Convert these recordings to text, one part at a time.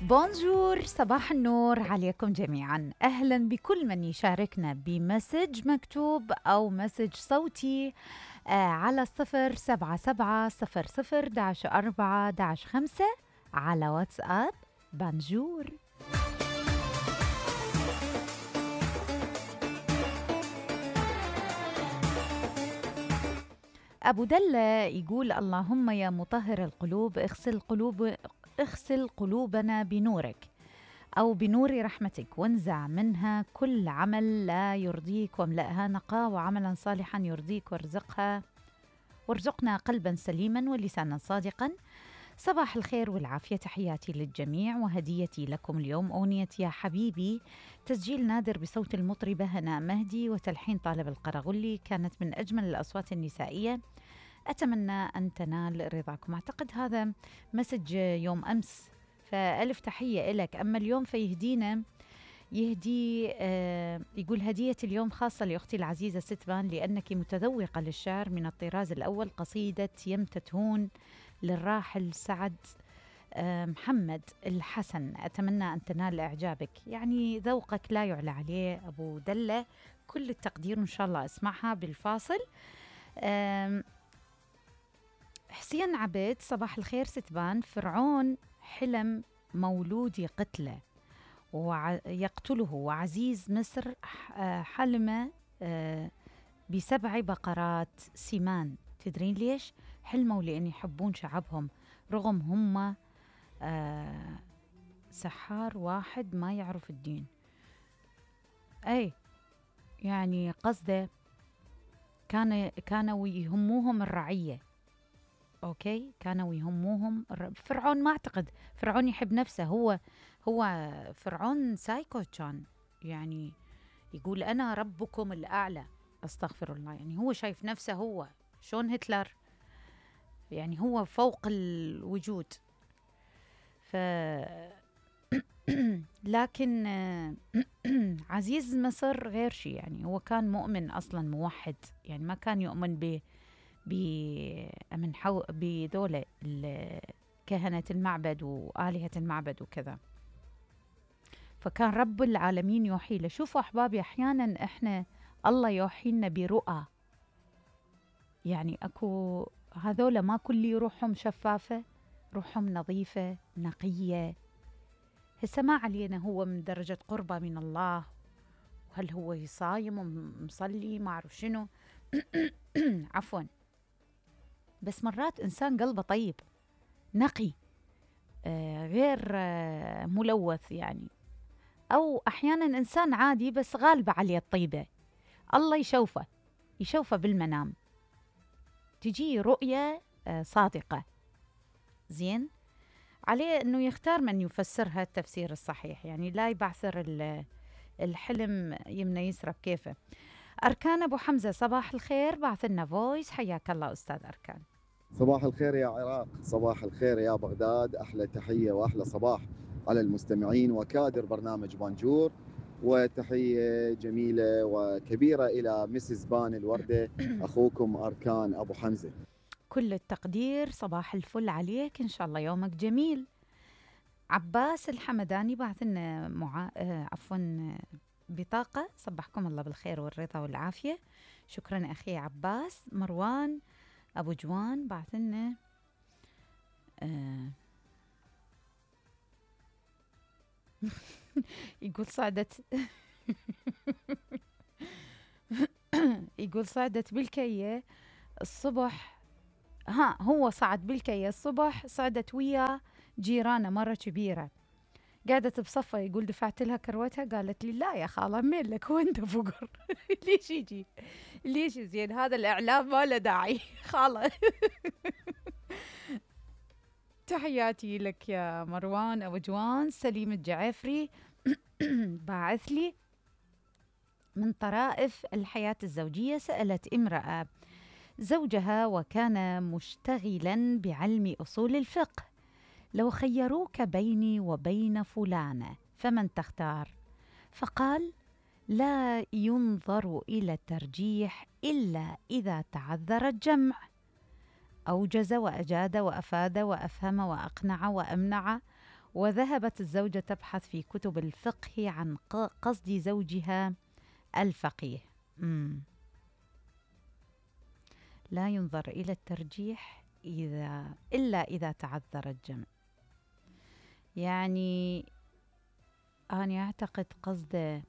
بونجور، صباح النور عليكم جميعا. أهلا بكل من يشاركنا بمسج مكتوب أو مسج صوتي على 077-00-4-5 على واتساب. بونجور. أبو دلة يقول: اللهم يا مطهر القلوب اغسل قلوبنا بنورك أو بنور رحمتك، وانزع منها كل عمل لا يرضيك، واملأها نقاء وعملا صالحا يرضيك، وارزقنا قلبا سليما ولسانا صادقا. صباح الخير والعافية، تحياتي للجميع، وهديتي لكم اليوم أغنية يا حبيبي، تسجيل نادر بصوت المطربة هناء مهدي وتلحين طالب القرغلي، كانت من أجمل الأصوات النسائية، أتمنى أن تنال رضاكم. أعتقد هذا مسج يوم أمس، فألف تحية إلك. أما اليوم فيهدينا يقول: هدية اليوم خاصة لأختي العزيزة ستبان، لأنك متذوقة للشعر من الطراز الأول، قصيدة يمتتهون للراحل سعد محمد الحسن، أتمنى أن تنال إعجابك. يعني ذوقك لا يعلى عليه أبو دلة، كل التقدير، إن شاء الله أسمعها بالفاصل. حسين عبيد: صباح الخير ستبان، فرعون حلم مولودي قتله ويقتله، وعزيز مصر حلم ب7 بقرات سمان. تدرين ليش؟ حلموا لأن يحبون شعبهم رغم هم سحار واحد ما يعرف الدين. أي يعني قصده كانوا يهموهم الرعية. أوكي، كانوا يهموهم فرعون ما أعتقد فرعون يحب نفسه، هو فرعون سايكو كان، يعني يقول أنا ربكم الأعلى، أستغفر الله، يعني هو شايف نفسه هو شون هتلر، يعني هو فوق الوجود. لكن عزيز مصر غير شيء، يعني هو كان مؤمن أصلا موحد، يعني ما كان يؤمن بذولة كهنة المعبد وآلهة المعبد وكذا، فكان رب العالمين يوحي له. شوفوا أحبابي، أحيانا إحنا الله يوحي لنا برؤى، يعني أكو هذولا ما كل روحهم شفافة، روحهم نظيفة نقية، هسه ما علينا هو من درجة قربة من الله، وهل هو يصايم ومصلي ما أعرف شنو عفوا، بس مرات إنسان قلبه طيب نقي غير ملوث يعني، أو أحيانا إنسان عادي بس غالبة عليه الطيبة، الله يشوفه بالمنام، تجي رؤية صادقة، زين عليه أنه يختار من يفسرها التفسير الصحيح، يعني لا يبعثر الحلم يمنى يسرب كيفه. أركان أبو حمزة: صباح الخير، بعث لنا فويس، حياك الله أستاذ أركان. صباح الخير يا عراق، صباح الخير يا بغداد، أحلى تحية وأحلى صباح على المستمعين وكادر برنامج بانجور، وتحية جميلة وكبيرة إلى مسز بان الوردة، أخوكم أركان أبو حمزة. كل التقدير، صباح الفل عليك، إن شاء الله يومك جميل. عباس الحمداني بعث لنا بطاقة: صبحكم الله بالخير والرضا والعافية. شكرا أخي عباس. مروان أبو جوان بعث لنا يقول صعدت يقول صعدت بالكية الصبح، هو صعد بالكية الصبح، صعدت ويا جيرانة مرة كبيرة، قعدت بصفة، يقول دفعت لها كروتها، قالت لي لا يا خالة مين لك وانت فقر ليش يجي ليش زين، هذا الإعلام ما له داعي خالة. تحياتي لك يا مروان أبو جوان. سليم الجعفري باعث لي: من طرائف الحياة الزوجية، سألت امرأة زوجها وكان مشتغلا بعلم أصول الفقه: لو خيروك بيني وبين فلانة فمن تختار؟ فقال: لا ينظر إلى الترجيح إلا إذا تعذر الجمع. أوجز وأجاد وأفاد وأفهم وأقنع وأمنع وذهبت الزوجة تبحث في كتب الفقه عن قصد زوجها الفقيه. لا ينظر إلى الترجيح إلا إذا تعذر الجمع. يعني أنا أعتقد قصده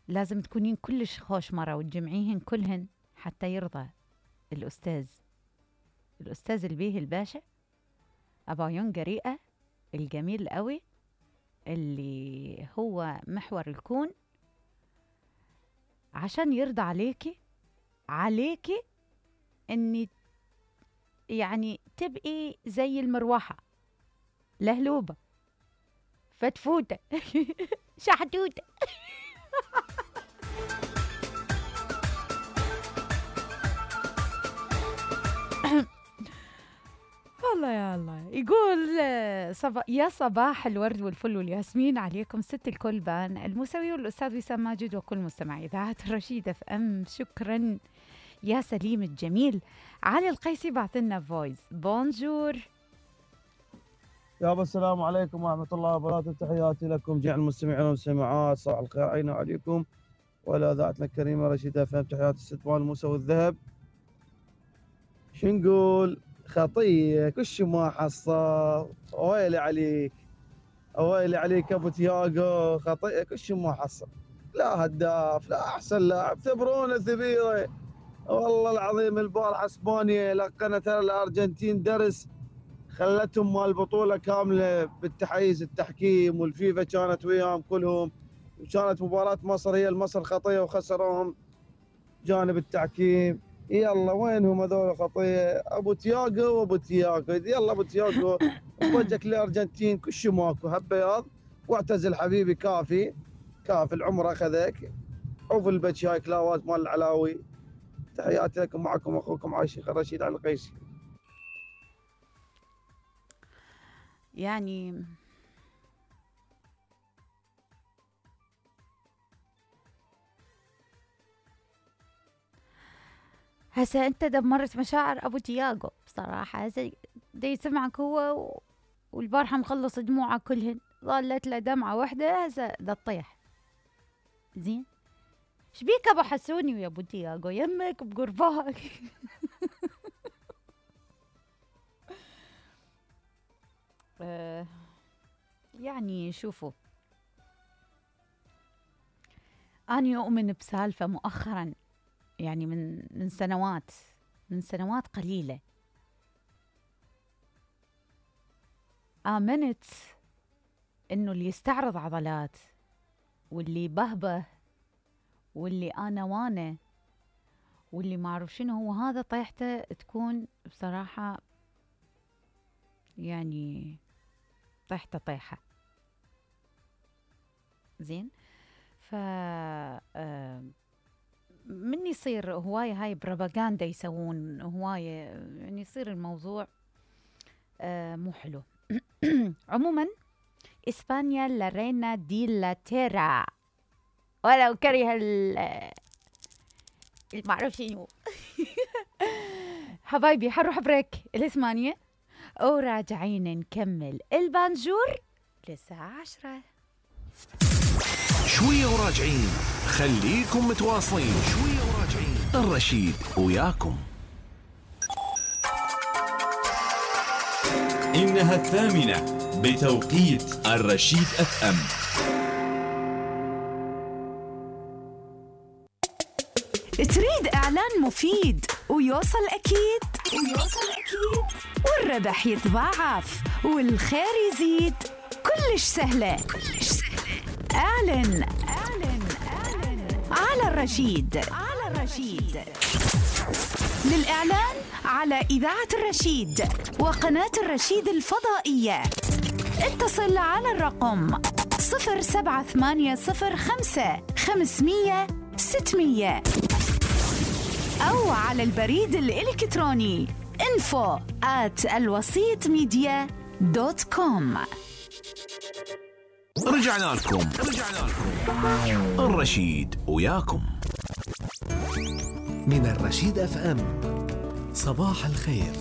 لازم تكونين كلش خوش مرة وتجمعيهن كلهن حتى يرضى الأستاذ البيه الباشا أبا ينقريئة الجميل قوي اللي هو محور الكون، عشان يرضى عليكي اني يعني تبقي زي المروحة لهلوبة فتفوتة شحتوتة. الله يا الله. يقول يا صباح الورد والفل والياسمين عليكم ست الكل بان الموسوي والأستاذ وسام ماجد وكل مستمعي إذاعة الرشيد FM. شكرا يا سليم الجميل. علي القيسي بعث لنا فويس. بونجور يابا، السلام عليكم ورحمة الله وبركاته. تحياتي لكم جميع المستمعين والمستمعات، صباح الخير علينا وعليكم وعلى إذاعتنا الكريمة رشيد FM. تحياتي الست مال موسى والذهب. شو نقول؟ خطية كش ما حصل. ويلي عليك ويلي عليك ابو تياغو، خطية كش ما حصل. لا هداف، لا احسن لاعب، ثبرونه ثبيره والله العظيم. البارحه اسبانيا لقنت الارجنتين درس، خلتهم مال البطوله كامله بالتحيز التحكيم، والفيفا كانت وياهم كلهم، وكانت مباراه مصر هي المصر خطيه وخسروهم جانب التحكيم. يلا وينهم هذول خطيه؟ ابو تياغو وابو تياغو، يلا ابو تياغو وجهك للارجنتين كش ماكو هالبياض، واعتزل حبيبي. كافي العمر اخذك. عوف البتش هاي كلاوات مال العلاوي. تحياتي لكم، معكم اخوكم عايشي رشيد على القيسي. يعني هسه انت دمرت مشاعر ابو تياغو بصراحه. هسه دي يسمعك هو والبارحه مخلص دموعه كلهن، ظلت له دمعه واحده هسه دا تطيح. زين شبيك ابو حسوني ويا ابو تياغو؟ يمك بقرباك. يعني شوفوا، أنا أؤمن بسالفة مؤخرا، يعني من سنوات قليلة، آمنت إنه اللي يستعرض عضلات واللي بهبه واللي أنا وانا واللي ما أعرف شنو هو، هذا طيحته تكون بصراحة يعني طيحة زين. ف من يصير هواية هاي بروباغندا يسوون هواية، يعني يصير الموضوع مو حلو. عموما إسبانيا لا رينا دي لا تيرا، ولو كره المعروف شنو. حبايبي حنروح بريك الثمانية وراجعين نكمل البانجور للساعة 10. شوية وراجعين، خليكم متواصلين. شوية وراجعين، الرشيد وياكم. إنها 8 بتوقيت الرشيد FM. تريد إعلان مفيد ويوصل أكيد والربح يتضاعف والخير يزيد، كلش سهلة. اعلن على الرشيد. للإعلان على إذاعة الرشيد وقناة الرشيد الفضائية اتصل على الرقم 07805 أو على البريد الإلكتروني info@alwasitmedia.com. رجعنا لكم الرشيد وياكم من الرشيد FM. صباح الخير.